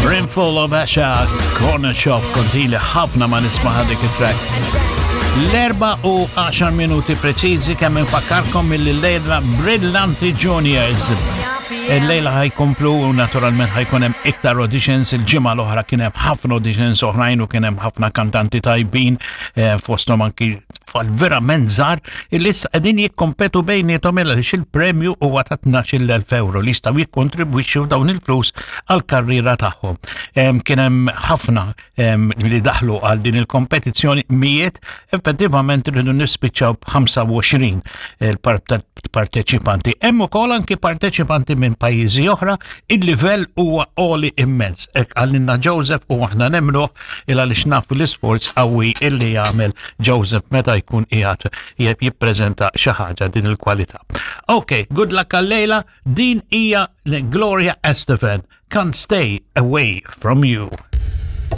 Brimful of Asha, Corner Shop, kontili ħafna ma nisma' dik it-track. L-erba u 10 minuti preċiżi kemm infakkarkom mill-lejla Brillanti Juniors. Il-lejla ħajkomplu u naturalment ħajkun hemm iktar auditions il-ġimgħa l-oħra kien hemm ħafna auditions oħrajn u kien hemm ħafna kantanti tajbin eh, fosthom anki tfal verament żgħar illi issa qegħdin jikkompetu bejniethom għaliex il-premju huwa ta' 12,000 euro li jistgħu jikkontribwixxu dawn il-flus għall-karriera tagħhom. Kien hemm ħafna li daħlu għal din il-kompetizzjoni mijiet, effettivament rridu nispiċċaw b'25 il-parteċipanti. Hemm ukoll anki parteċipanti minn pajjiżi oħra, il-livell huwa għoli immens. Hekk qalilna Joseph u aħna nemmnuh il għaliex nafu l-isforz qawwi illi jagħmel Joseph meta jkun qiegħed jippreżenta xi ħaġa din il-kwalità. Ok, good luck għal-lejla, din hija Gloria Estefan, Can't Stay Away From You.